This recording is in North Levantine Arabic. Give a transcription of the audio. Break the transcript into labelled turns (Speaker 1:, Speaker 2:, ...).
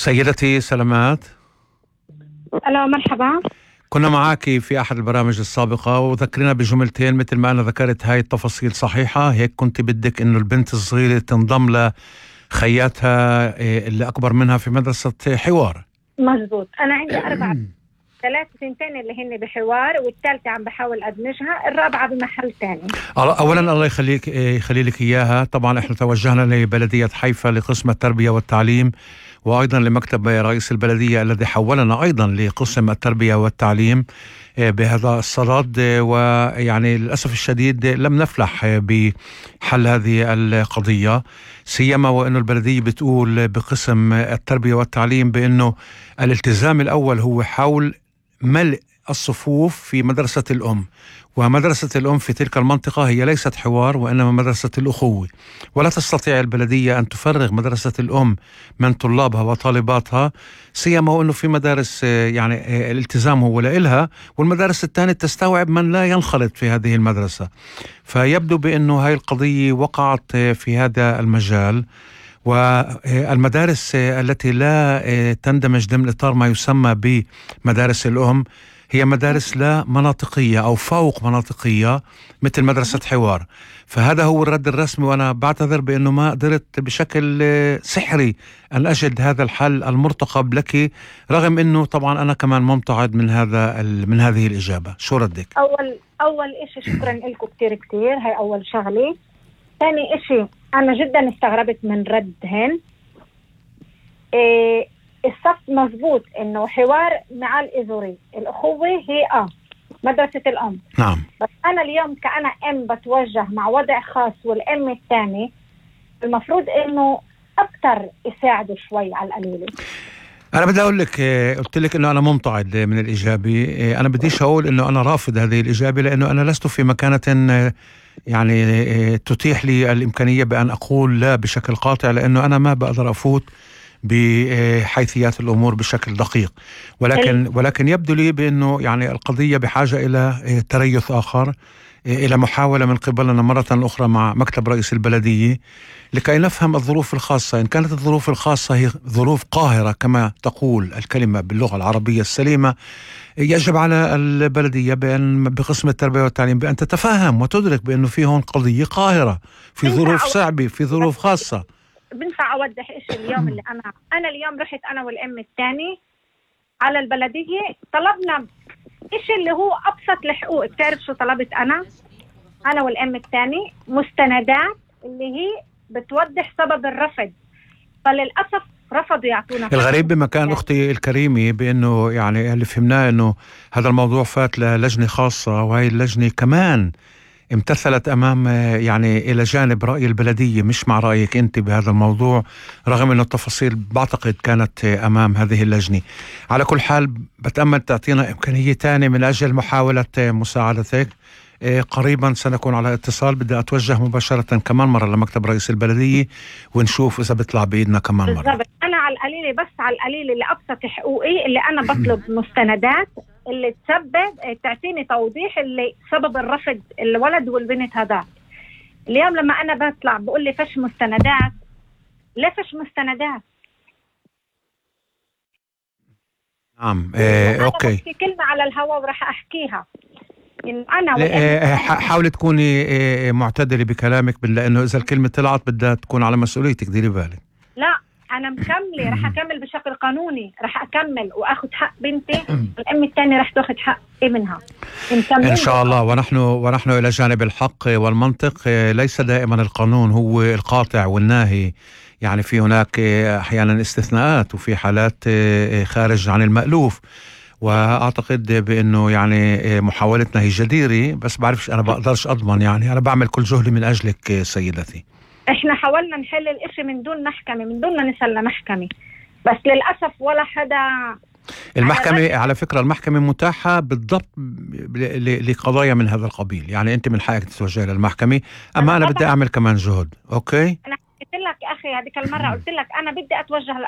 Speaker 1: سيدتي سلامات،
Speaker 2: ألو مرحبا.
Speaker 1: كنا معك في أحد البرامج السابقة وذكرنا بجملتين مثل ما أنا ذكرت. هاي التفاصيل صحيحة؟ هيك كنت بدك إنه البنت الصغيرة تنضم لخياتها اللي أكبر منها في مدرسة حوار.
Speaker 2: مزبوط، أنا عندي 3 سنتين اللي هن بحوار، والثالثة عم بحاول أدمجها، الرابعة بمحل تاني.
Speaker 1: أولا الله يخلي لك إياها. طبعا إحنا توجهنا لبلدية حيفا لقسم التربية والتعليم، وأيضا لمكتب رئيس البلدية الذي حولنا أيضا لقسم التربية والتعليم بهذا الصدد. ويعني للأسف الشديد لم نفلح بحل هذه القضية، سيما وأن البلدية بتقول بقسم التربية والتعليم بأنه الالتزام الأول هو حول ملء الصفوف في مدرسة الأم، ومدرسة الأم في تلك المنطقة هي ليست حوار وإنما مدرسة الأخوة، ولا تستطيع البلدية أن تفرغ مدرسة الأم من طلابها وطالباتها، سيما وأنه في مدارس يعني الالتزام هو لإلها، والمدارس الثانية تستوعب من لا ينخلط في هذه المدرسة. فيبدو بأنه هاي القضية وقعت في هذا المجال، والمدارس التي لا تندمج ضمن إطار ما يسمى بمدارس الأم هي مدارس لا مناطقية أو فوق مناطقية مثل مدرسة حوار. فهذا هو الرد الرسمي، وأنا بعتذر بأنه ما قدرت بشكل سحري أن أجد هذا الحل المرتقب لك، رغم أنه طبعا أنا كمان ممتعض من هذه الإجابة. شو ردك؟
Speaker 2: أول إشي شكرا لكم كتير، هاي أول شغلة. ثاني إشي أنا جدا استغربت من ردهن. الصف مزبوط إنه حوار مع الإزوري، الأخوة هي مدرسة الأم.
Speaker 1: نعم.
Speaker 2: بس أنا اليوم كأنا أم بتوجه مع وضع خاص، والأم الثاني المفروض إنه أكتر يساعدوا شوي على القليلة.
Speaker 1: أنا بدي أقول لك، قلت لك إنه أنا ممتعض من الإجابة. أنا بديش أقول إنه أنا رافض هذه الإجابة، لأنه أنا لست في مكانة يعني تتيح لي الإمكانية بأن أقول لا بشكل قاطع، لأنه أنا ما بقدر أفوت بحيثيات الأمور بشكل دقيق، ولكن يبدو لي بأنه يعني القضية بحاجة إلى تريث آخر، إلى محاولة من قبلنا مرة أخرى مع مكتب رئيس البلدية لكي نفهم الظروف الخاصة. إن كانت الظروف الخاصة هي ظروف قاهرة كما تقول الكلمة باللغة العربية السليمة، يجب على البلدية بقسم التربية والتعليم بأن تتفهم وتدرك بأنه في هون قضية قاهرة في ظروف صعبة في ظروف خاصة.
Speaker 2: بنفع أوضح إيش اليوم اللي أنا اليوم رحت أنا والأم الثاني على البلدية، طلبنا إيش اللي هو أبسط الحقوق. بتعرف شو طلبت أنا والأم الثاني؟ مستندات اللي هي بتوضح سبب الرفض، فللأسف رفضوا يعطونا.
Speaker 1: الغريب بمكان أختي الكريمة بأنه يعني اللي فهمناه أنه هذا الموضوع فات للجنة خاصة، وهي اللجنة كمان امتثلت أمام يعني إلى جانب رأي البلدية مش مع رأيك أنت بهذا الموضوع، رغم أنه التفاصيل بعتقد كانت أمام هذه اللجنة. على كل حال بتأمل تعطينا إمكانية تانية من أجل محاولة مساعدتك. قريبا سنكون على اتصال، بدي أتوجه مباشرة كمان مرة لمكتب رئيس البلدية ونشوف إذا بيطلع بإيدنا كمان مرة.
Speaker 2: بالضبط. أنا على القليلة، بس على القليلة اللي أبسط حقوقي اللي أنا بطلب مستندات اللي تسبب تعطيني توضيح اللي سبب الرفض الولد والبنت هذا. اليوم لما أنا بطلع بقول لي فش مستندات، لا فش مستندات.
Speaker 1: نعم. أوكي.
Speaker 2: في كلمة على الهواء وراح أحكيها. أنا
Speaker 1: حاولي تكوني معتدلة بكلامك، لأنه إذا الكلمة طلعت بدها تكون على مسؤوليتك، ديري بالك.
Speaker 2: لا أنا مكملة، رح أكمل بشكل قانوني، رح أكمل وأخذ حق بنتي، والأم الثانية رح تأخذ حق ابنها
Speaker 1: إن شاء الله. ونحن إلى جانب الحق والمنطق. ليس دائما القانون هو القاطع والناهي، يعني في هناك أحيانا استثناءات وفي حالات خارج عن المألوف، وأعتقد بأنه يعني محاولتنا هي جديرة، بس بعرفش أنا بقدرش أضمن، يعني أنا بعمل كل جهدي من أجلك سيدتي.
Speaker 2: إحنا حاولنا نحل الإشي من دون محكمة، من دون ما نسأل لمحكمة، بس للأسف ولا حدا.
Speaker 1: المحكمة على فكرة المحكمة متاحة بالضبط لقضايا من هذا القبيل، يعني أنت من حقك تتوجه للمحكمة، أما أنا بدي أعمل كمان جهد. أوكي.
Speaker 2: أنا قلت لك أخي هذيك المرة، قلت لك أنا بدي أتوجه